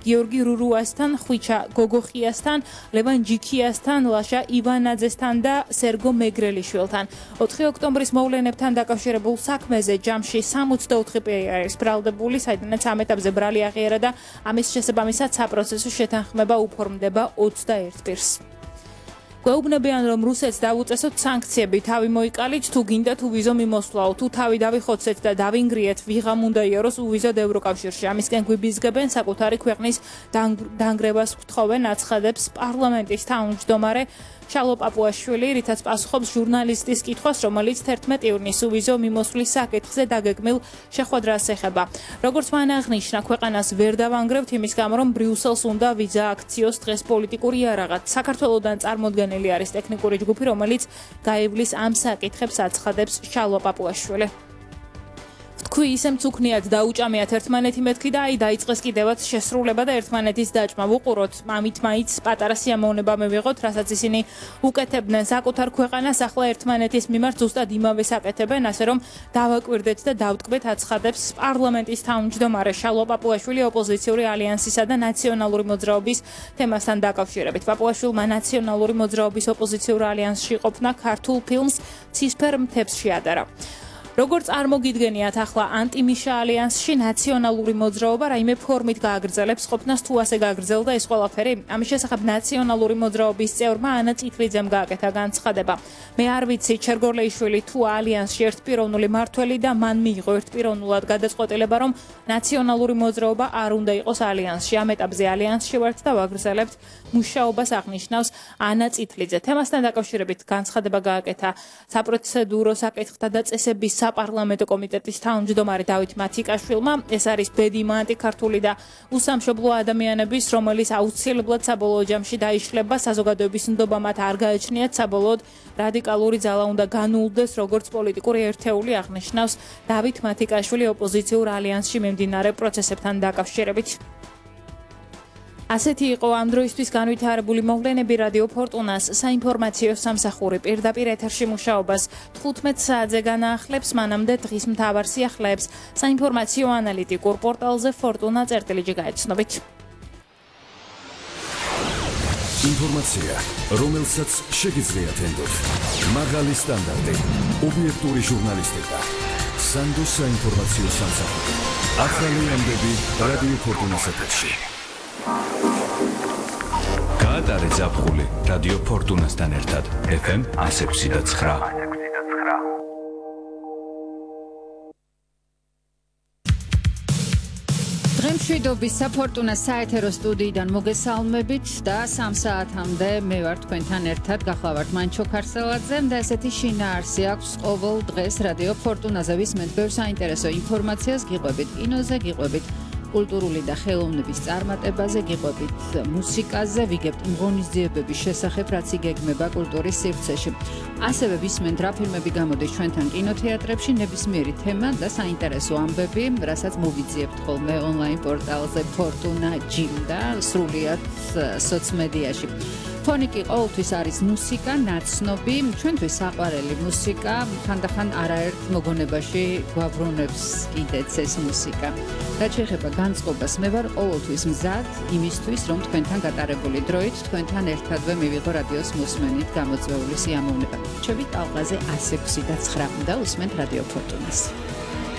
გიორგი რურუასთან, ხვიჩა გოგოხიასთან, ლევან ჯიქიასთან, ლაშა ივანაძესთან და სერგო მეგრელიშვილთან. 4 ოქტომბრის მოვლენებთან დაკავშირებულ საქმეზე ჯამში 64 პირი არის ბრალდებული, საიდანაც ამ ეტაპზე ბრალი აღიარა და ამის შესაბამისად საპროცესო შეთანხმება უფორმდება 21 პირს. გვეუბნებიან, რომ რუსეთს დავუწესოთ სანქციები, თავი მოიკალით, თუ გინდა თუ ვიზო მიმოსვლაო, თუ თავი დავიხოცეთ და დავინგრიეთ, ვიღამ უნდა იაროს უვიზოდ ევროკავშირში. ამისკენ გვიბიზგებენ, საკუთარი ქვეყნის დანგრევას გთხოვენ, აცხადებს პარლამენტის თავმჯდომარე შალო პაპუაშვილი, რითაც პასუხობს ჟურნალისტის კითხვას, რომელიც 11 ივნისს უვიზო მიმოსვლის საკითხზე დაგეგმილ შეხვედრას ეხება. როგორც მან აღნიშნა, ქვეყანას ვერ დავანგრევთ იმის გამო, რომ ბრიუსელს უნდა ვიზა აქციოს დღეს პოლიტიკური იარაღად. საქართველოდან წარმოდგენილი არის ტექნიკური ჯგუფი, რომელიც გაივლის ამ საკითხებს, აცხადებს შალო პაპუაშვილი. თქვი ისე მწუქნიათ დაუჭამიათ ერთმანეთი მეთქი და აი დაიწყეს კიდევაც შესრულება და ერთმანეთის დაჭმა. ვუყუროთ, ამით მაინც პატარა სიამოვნება მივიღოთ, რასაც ისინი უკეთებდნენ საკუთარ ქვეყანას, ახლა ერთმანეთის მიმართ ზუსტად იმავე საკეთებენ, ასე რომ დავაკვირდეთ და დავტკბეთ, აცხადებს პარლამენტის თავმჯდომარე შალო პაპუაშვილი ოპოზიციური ალიანსისა და ნაციონალური მოძრაობის თემასთან დაკავშირებით. პაპუაშვილმა ნაციონალური მოძრაობის ოპოზიციურ ალიანსში ყოფნა ქართულ ფილმს ცისფერ მთებს შეადარა. როგორც არ მოგიდგენიათ, ახლა ანტიმიშა ალიანსში ნაციონალური მოძრაობა რაიმე ფორმით გააგრძელებს ყოფნას, თუ ასე გააგრძელდა ეს ყველაფერი. ამის შესახებ ნაციონალური მოძრაობის წევრმა ანა წითლიძემ გააკეთა განცხადება. მე არ ვიცი, ჩერგორლეიშვილი თუ ალიანსში ერთპიროვნული მართველი და მან მიიღო ერთპიროვნულად გადაწყვეტილება, რომ ნაციონალური მოძრაობა არ უნდა იყოს ალიანსში. ამ ეტაპზე ალიანსში ვართ და ვაგრძელებთ მუშაობას, აღნიშნავს ანა წითლიძე. თემასთან დაკავშირებით განცხადება გააკეთა საპროცედურო საკითხთა და წესების საპარლამენტო კომიტეტის თავმჯდომარე დავით მათიკაშვილმა. ეს არის ბედიმა ანტიქართული და უსამშობლო ადამიანების, რომელიც აუცილებლად საბოლოო ჯამში დაიშლება, საზოგადოების ნდობა მათ არ გააჩნიათ, საბოლოოდ რადიკალური ძალა უნდა განულდეს როგორც პოლიტიკური ერთეული, აღნიშნავს დავით მათიკაშვილი ოპოზიციურ ალიანსში მიმდინარე პროცესებთან დაკავშირებით. ასეთი იყო ამ დროისთვის განვითარებული მოვლენები. რადიო ფორტუნას საინფორმაციო სამსახური პირდაპირ ეთერში მუშაობას 15 საათზე განაახლებს, მანამდე დღის მთავარ სიახლეებს საინფორმაციო ანალიტიკურ პორტალზე fortuna.წერტილიჯი გაეცნობით. ინფორმაცია, რომელსაც შეგიძლიათ ენდოთ. მაღალი სტანდარტი, ობიექტური ჟურნალისტიკა. სანდოს საინფორმაციო სამსახური. ახალი ამბები რადიო ფორტუნას ეთერში. გაატარე ზაფხული რადიო ფორტუნასთან ერთად FM 106.9. დღემშვიდობის საფორტუნას საეთერო სტუდიიდან მოგესალმებით და 3 საათამდე მე ვარ თქვენთან ერთად, გახლავართ მანჩო ქარსელაძე და ესეთი შინაარსი აქვს ყოველ დღეს რადიო ფორტუნაზე. ვისმენთ ბევრ საინტერესო ინფორმაციას, გიყვებით კინოზე, გიყვებით კულტურული და ხელოვნების წარმატებაზე, გიყვებით მუსიკაზე, ვიგებთ ღონისძიებების შესახებ, რაც იგეგმება კულტურის სივრცეში. ასევე ვისმენთ რა ფილმები გამოდის ჩვენთან კინოთეატრებში, ნებისმიერი თემა და საინტერესო ამბები, რასაც მოვიძიებთ ხოლმე ონლაინ პორტალზე Fortuna Gym და სრულიად სოციმედიაში. ფონიკი ყოველთვის არის მუსიკა, ნაცნობი, ჩვენთვის საყვარელი მუსიკა, ხანდახან არაერთ მოგონებაში გვაბრუნებს კიდეც ეს მუსიკა. რაც შეეხება განწყობას, მე ვარ ყოველთვის მზად იმისთვის, რომ თქვენთან გატარებული დროით თქვენთან ერთადვე მივიღო რადიოს მოსმენით გამოწვეული სიამოვნება. ჩვენი ტალღაზე 106.9 და უსმენთ რადიო ფორტუნას.